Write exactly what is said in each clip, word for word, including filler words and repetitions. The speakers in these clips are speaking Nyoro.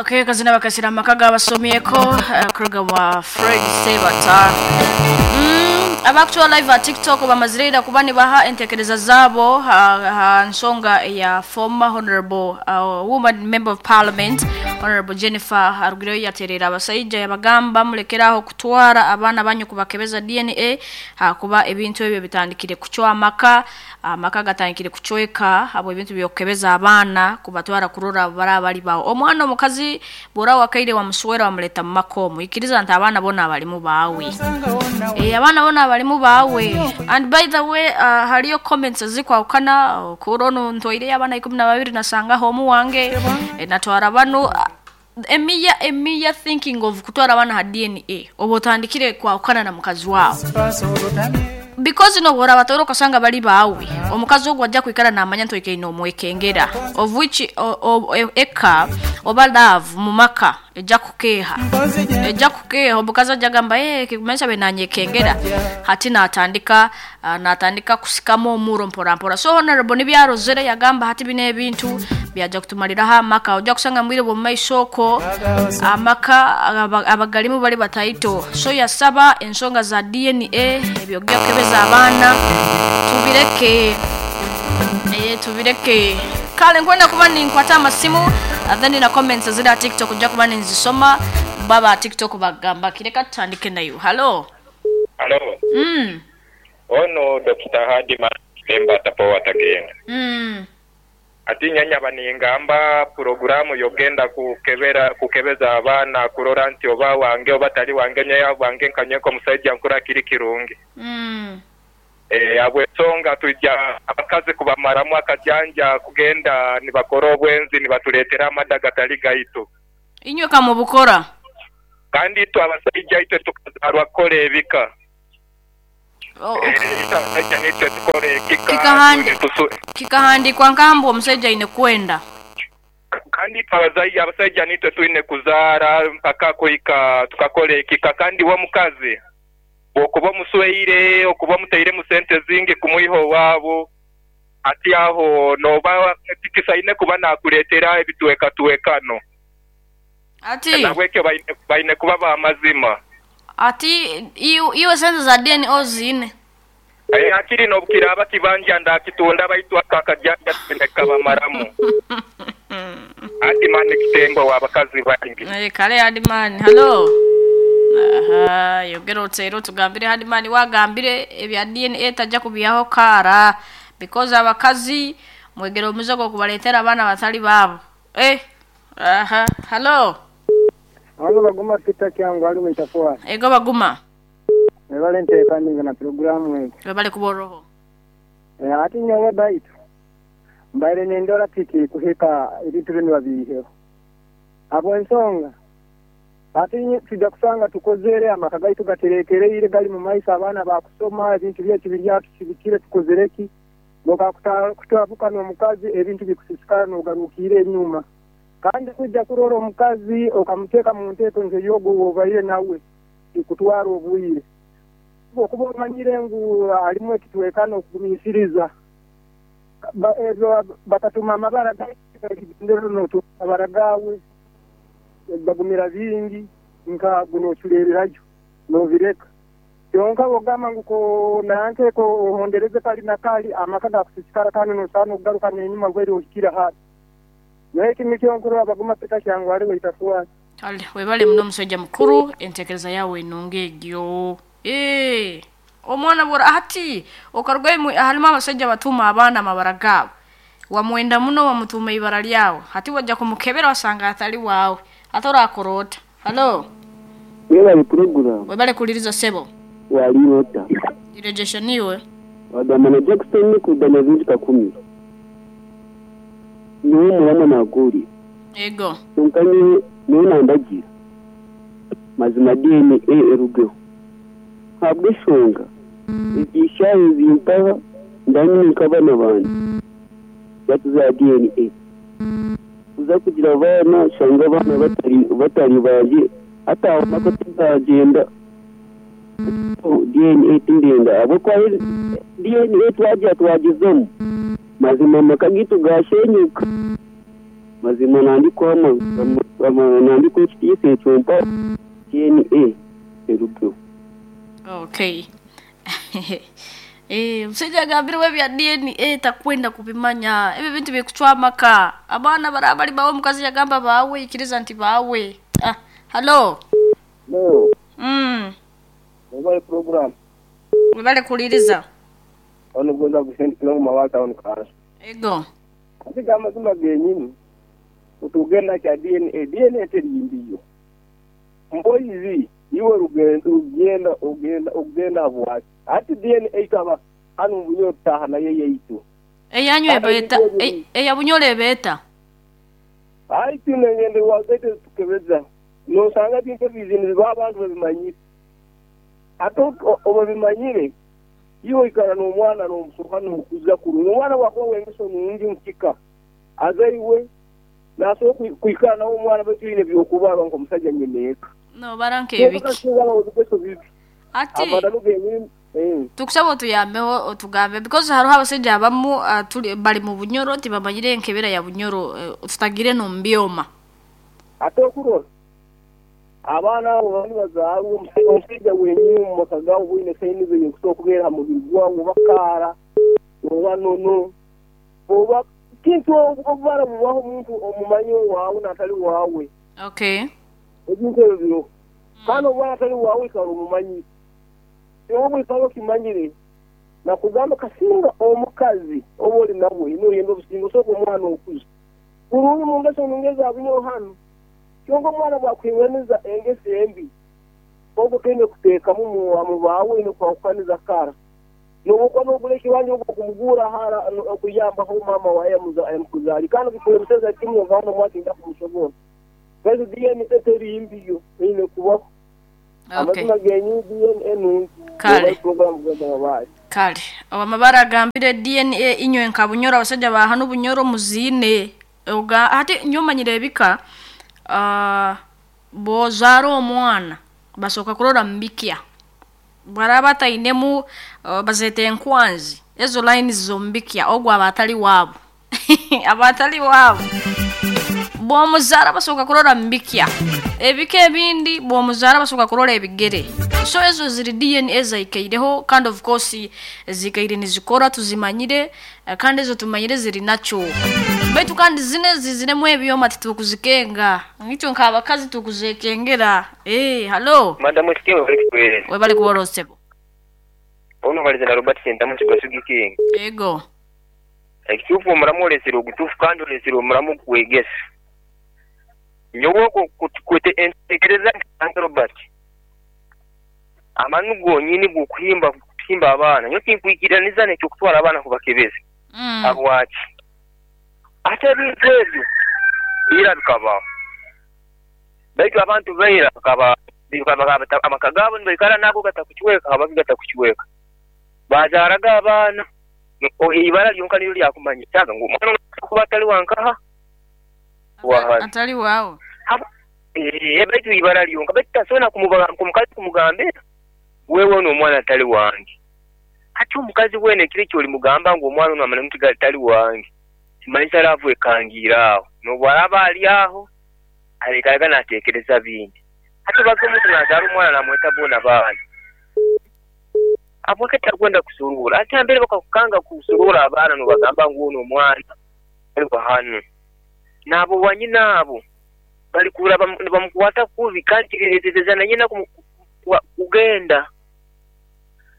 Okay, kazina bakasira amaka gabasomyeko uh, kuruga wa Fred Sebata. Mm, abakutuwa live at TikTok bamazirira kuba nibaha entekereza zabo ha, ha nsonga ya former honorable uh, woman member of parliament Honorable Jennifer Arugireyo yaterera abasajja yabagamba mulekeraho kutwara abaana banyu kubakebeza D N A hakuba ebintu ebyo bitandikire kucwa amaka amaka gatandikire kucweka abo ebintu byokebeza abaana kubatwara kurora barabali bawo omwana omukazi bora wakaire wa muswera wamuleta mu makomo ikiriza nti abaana bona abalimu bawe eh abaana bona abalimu bawe. And by the way uh, haliyo comments zikwawukana kurono ntoire abaana ikumi na babiri nasanga homu wange e, natwara bano uh, emiya emiya thinking of kutwara abana ha D N A obotandikire kwawukana na mukazi wawe because no bora batoro kasanga bali bawe omukazi ogwo ajja kwikara namanya ntoike ino omwekengera of which o, o, e, eka oba love mu maka ejja kukeha ejja kukeha omukazi ajja gamba eh kikumanyisa be nanyekengera hati natandika uh, natandika kusikamo omuro mpora mpora. So honorable nibyarozere yagamba hati bine ebintu byaja kutumaliraho amaka ojja kusanga mwire bo maisoko amaka abagalimu bali bataito. So yasaba ensonga za D N A ebyo kebeza abaana tubireke eh tubireke kale nkwenda kuba ninkwata amasimu then na comments zira TikTok ojja kuba ninzisoma baba TikTok bagamba kireka tutandike nayo. Hello hello mm ono Doctor Hadima Temba tapo atagenda mm ati nyanya baningamba programu yogenda kukebera kukebeza abaana kurora nti oba wange oba tali wange nyeya wange nkanyeko musajja nkura kiri kirungi mm eh abwe songa tujja abakazi kubamaramu akajanja kugenda nibakora obwenzi nibatuletera amadaga tali gaitu inywe kamubukora kandi itwe abasajja itwe tukazarwa kole ebika Oh, kikahandikwa nkambu omusajja ine kwenda kandi abazai abasajja nitwe tuine kuzaara mpaka kuika tukakole ekika kandi wa mukazi okuba musweire okuba muteire mu sente zingi kumuiho wabo ati aho noba tikisaine kuba nakuletera ebitweka tuwekano ati nabwekyo baine, baine kuba ba mazima ati iyo iyo sente za D N A zine eh akiri nobukira abakibanja ndakitunda baitwa kakajanja kabamaramu ati mani kitembo wabakazi bangi eh kale adi mani hello aha yogero tsero tugambire hadi mani wagambire ebya D N A tajja kubiyaho kara because abakazi mwegero muzogo kubaletera abana batali babo eh aha hello Alo baguma sita kyangu ali mwitafuwa. Ego baguma. Ebale ntekani na programu ego. Ebale kuboroho. Eh ati nyowe baitu. Mbaire nendora tiki kuhika ebintu bino babihe. Abo ensonga. Ati tujja kusanga tukozere amaka gaitu gaterekereire gali mu maisa abaana bakusoma ebintu byetu birya tusibikire tukozereki. Boka kutabuka n'omukazi ebintu bikusisikana n'ogarukire enyuma. Kandi kujja kurora omukazi okamuteka mu nteeko nze yogo obaire nawe ikutwara obwire okuba omanyire ngu alimu ekitwekano okugumisiriza ezo bakatuma amabara amabara gawe bagumira bingi nka guno oculererayo novireka kyonka ogamba ngu ko nanke ko ohondereze kali na kali amaka gakusisikara kandi nosaana okugaruka n'enyuma gweri ohikira hati. Naye kimikyo abaguma peta kyangu ali waitafuwa. Ale webale muno musajja mukuru entekereza yawe enunga egyo. Eh omwana bora ati okarugwe halimu abasajja batuma abaana amabara gaabo wamwenda muno wamutuma ibara lyawe hati wajja kumukebera wasanga atali wawe atora akorota. Hello webale program webale kuliriza sebo wali nota irejesha niwe wagamba na Jackson kudana vingi kakumi niwe mwana naguri ego nkanye niwe nandagira mazima D N A erugeho habwe shonga igishaye zimpaha ndani nkabana bandi batuza D N A uza kugira abana shanga abana batari batari baje ataho nako tuzagenda D N A tindenda abo kwa D N A twaje twagezemo mazima makagitu gashenyuka. Mazima nandikwa nandikwa ekitiisa ekyo mpa D N A erugeho. Okay. Eh, omusajja agambirwe ebya D N A takwenda kubimanya. Ebyo bintu bikucwa amaka. Abaana baraba bali bawe, omukazi yagamba bawe, ikiriza nti bawe. Ah, hello. No. Mm. Mobile program. Webale kuliriza. Ono goza kusendikira mu mawata ono kanso. Ego. Ate amazima genyini utugenda kya D N A, D N A terimbiyo. Mboyizi iwe rugendo ugenda ugenda ugenda bwaki. Ati D N A kaba hano bunyo taha na yeye yitu. Eyanyu ebeta eya bunyole ebeta. Ai tunengende wazete tukebeza. No sanga bintu bizini abantu babimanyire. Ato obabimanyire iwe ikara n'omwana n'omusoka n'okuza kurungi. Omwana wakuba wengeso nungi mukika. Azaiwe naso kwikara nawo omwana betwine byokubarwa nk'omusajja nyemeeka. No baranke ebiki. Ati tukusaba otuyambeho otugambe because hariho abasajja abamu uh, tuli bali mu bunyoro tibamanyire enkebera ya bunyoro uh, tutagire no mbyoma. Ate okurora abaana abo bali bazaalwa omusajja wenyini mu maka gaabo bwine sayini ze kusobola okubeera mu mubiri gwawo bakaara oba nono oba kintu obubara bubaho omuntu omumanyi waawe n'atali waawe. Okay. Ebintu ebyo biro kandi obwana atali waawe ikala omumanyi oba ikala okimanyire nakugamba kasinga omukazi oba oli nawe noyenda obusinga osooka omwana okuza kurungi mu ngeso nungeza abunyo hano kyonka omwana bwakwinganiza engeso embi ogwo twine kuteekamu mu baawe nokwahukaniza kara nobukwa nogula ekibanja ogwo kumugura hara okuyambaho mama waye amukuzaali kandi bikulemuseza kimwe ovana omwaki nja kumusobola baitu D N A terimbiyo eine kubaho. Amazima genyu D N A nungi. Kale. Kale. Amabara agambire D N A inywe nka bunyoro abasajja ba hano bunyoro muzine. Oga ate nyomanyire ebika uh, bozara omwana basoka kurora mbikya. Baraba tainemu uh, bazete enkwanzi. Ezo line zombikya ogwa abatali wabo. Abatali wabo. Bomuzara basoka kurora mbikya. Ebika ebindi bomuzara basoka kurora ebigere. So ezo ziri D N A zaikaireho kandi of course zikaire nizikora tuzimanyire kandi ezo tumanyire ziri nacho. Baitu kandi zine ziziremu ebyoma titukuzikenga. Ngicyo nk'abakazi tukuzekengera. Eh, hello. Madam Sikiwe bali kuwereza. We bali kuworosebo. Ono bali na Robert Sentamu kigasugi king. Ego. Ekitufu omuramu olesero ogutufu kandi olesero omuramu kwegesa. Nyowe kwete entekereza nka Robert. Amanu gonyini gukuhimba kuhimba abaana. Nyo tinkwikiraniza nekyo kutwara abaana kubakebeza. Mm. Abwaki. Ate ebintu ebyo ira bikabaho. Baitu abantu baira bakaba amaka gaabo nibaikara nago gatakukiweka abaki gatakukiweka. Bazaaraga abaana ibara lyonka niryo lyakumanya kyaga ngu omwana kuba atali wankaha wahali. Atali waawe. Eh, baitu ibara lyonka baitu tasobola kumukazi kumugambira wewe ono omwana atali wange. Ate omukazi wene ekiro ekyo olimugamba ngu omwana ono amanya nti atali wange. Kimanyisa laavu ekangiira aho. N'obwaraba ali aho alekalaga n'ateekereza bindi. Ate baka omuntu n'azaala omwana n'amweta boona baana. Abwake takwenda kusurura. Ate mbere bakakukanga kusurura abaana n'obagamba ngu ono omwana ali hano. N'abo wanyina abo balikura bamukwata kubi kandi kireeteza na nyina kugenda.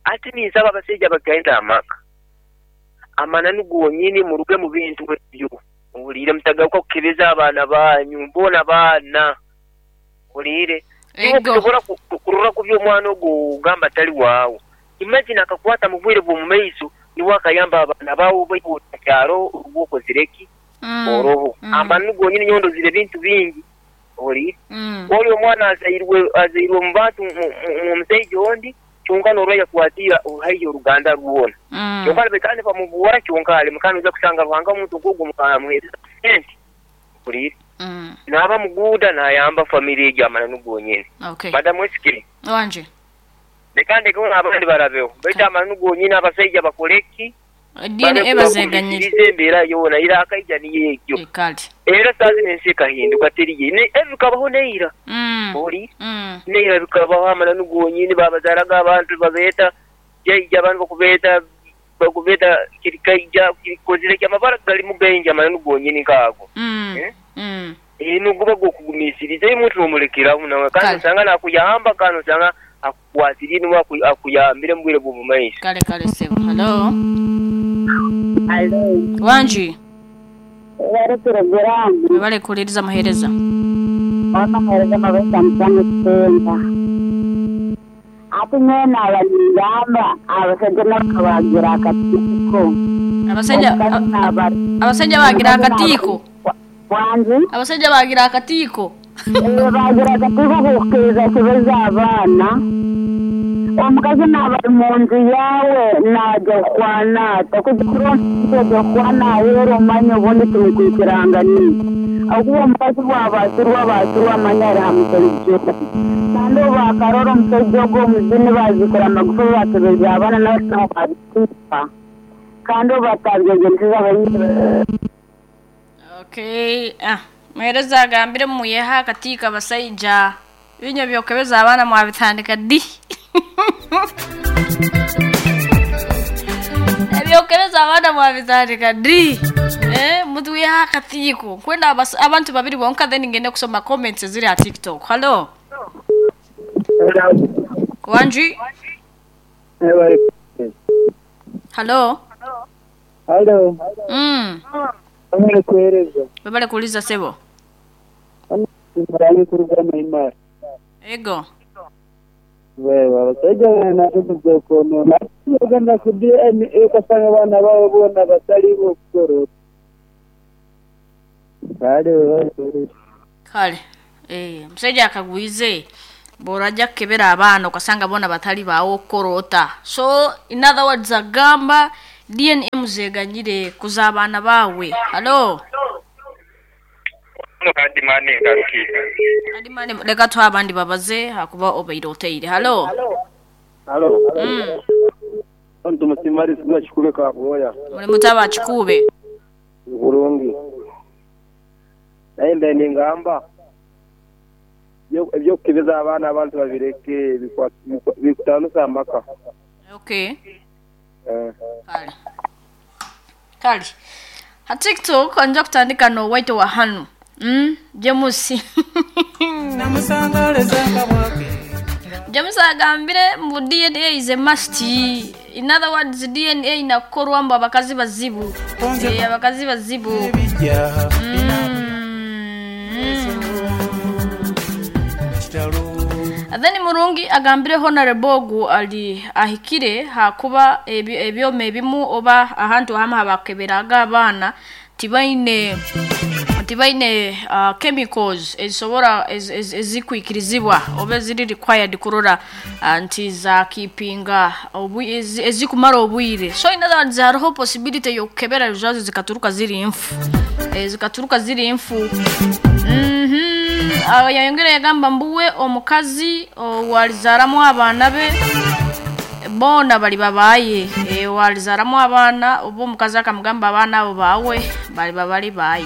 Ate ninsaba abasajja bagenda amaka. Amananu gonyini muruge mu bintu ebyo. Owulire mutagaruka kukebeza abaana banyu mbona baana. Owulire. Okusobola kurora ku by'omwana ogwo ogamba tali waawo. Imagine akakwata mu bwire bw'omu maiso niwe akayamba abaana baawo kyaro ogwokozireki. Mm. Oroho. Mm. Amananu gonyini nyondo zire bintu bingi. Owulire. Mm. Oli omwana azairwe azairwe mu bantu mu musajja ondi kyonka n'orwaya kwatira oruhaiyo oruganda rwona. Mm. Kyonka bekane bamubuwara kyonka ali mukano uza kusanga ruhanga omuntu ogwo mukamuhereza sente. Owulire. Mm. N'aba muguuda n'ayamba family egyo amananu gonyini. Okay. Madamu Esikiri. Wanje. Leka ndeke abandi barabeho. Baitu amananu gonyini abasajja bakoleki D N A bazeganyire. Embeera yoona ira akaija niyo egyo. Kale. Era saa zino ensi ekahinduka teriye ne ebikabaho neira. Mm. Oli Mm. neira bikabaho amananu gonyini babazaaraga abantu babeeta jaija abantu bakubeeta bakubeeta kirikaija kirikozire ki amabara galimu gaingi amananu gonyini nk'ago. Mm. Eh? Mm. Eh, noguba gwokugumiisiriza omuntu nomurekeraho nawe kandi Kale. osanga nakuyamba kandi osanga akukwatiriire niwe aku- akuyambire mu bwire bw'omu maiso. Kale kale sebo. Hello. Alo, Wanji. bari porogaramu Webale kuwuliriza muheereza. wakamuhereza amabesa mutano kutemba ate nyowe naaba ningamba abasajja nabo bagira akatiiko. Abasajja Omukazi naaba- abasajja bagira akatiiko. Wangi. Abasajja bagira akatiiko. Eh, bagira akatiiko kukiriza kibeza abaana. Omukazi naaba ari mu nju yaawe naajya kukwana ata kujya kuronda ajya kukwana aheeru omanya obundi tumukwikirangani akuba omukazi bwabasirwa abasirwa amanya ari ha musajja kandi obu bakarora omusajja ogwo omuzini bazikura amagufa bakebeza abaana nabo babitiipa kandi obu batabyegensiza abanyine. Okay. Ah, muheereza agambire muyeha akatiiko abasajja. Binyo byokebeza abaana mwabitandika ddi? Ebyokebeza abaana mwabitandika ddi? Eh, mutwiha akatiiko. Kwenda abas- abantu babiri bonka then ngende kusoma comments eziri ha TikTok. Hello. Wanji. Hello. Halo, Mm. bamwe kuhereza. Webale kuuliza sebo. Murangi kuruga Maimara. Ego. Wewe abasajja banatukuza konona. Uganda ku D N A ukasanga abana babo bona batali bokukora. Kale wewe. Kale. Eh, musajja akagwize bw'orajja kukebera abaana okasanga bona batali baawo okukorota. So in other words agamba D N A muzeganyire kuza abaana baawe. Hello. Kandi mani ngarukire. Adimani leka tuha abandi babaze hakuba obaire oteire. Hello. Halo. Mm. Tumusimari sigwa kikube kabwoya. Muli mutaba kikube. Bulungi. Naye mbe ningamba ebyokukebeza abaana abantu babireke bikwa- bikwa- bikutanusa amaka. Okay. Eh. Kale. Kale. Ha TikTok nja kutandika no white wa hanu. Mm, Jamusi. James agambire mbu D N A is a must. In other words, D N A inakorwa mbu abakazi bazibu. Eh, abakazi bazibu. Mm. Then Murungi agambire Honorable ogu ali ahikire hakuba ebi- ebyoma ebimu oba ahantu hamu habakeberaga abaana tibaine tibaine uh, chemicals ezisobora ez- ez- ezikwikirizibwa oba eziri required kurora uh, nti zakipinga obu- ezi- ezikumara obwire. So in other words hariho possibility yokukebera results zikaturuka ziri nfu, eh, zikaturuka ziri nfu. Mhm. Aho yayongera yagamba mbuwe omukazi walizaaramu abaana be boona bali babaye. E, walizaaramu abaana oba omukazi akamugamba abaana abo baawe bali babali baye.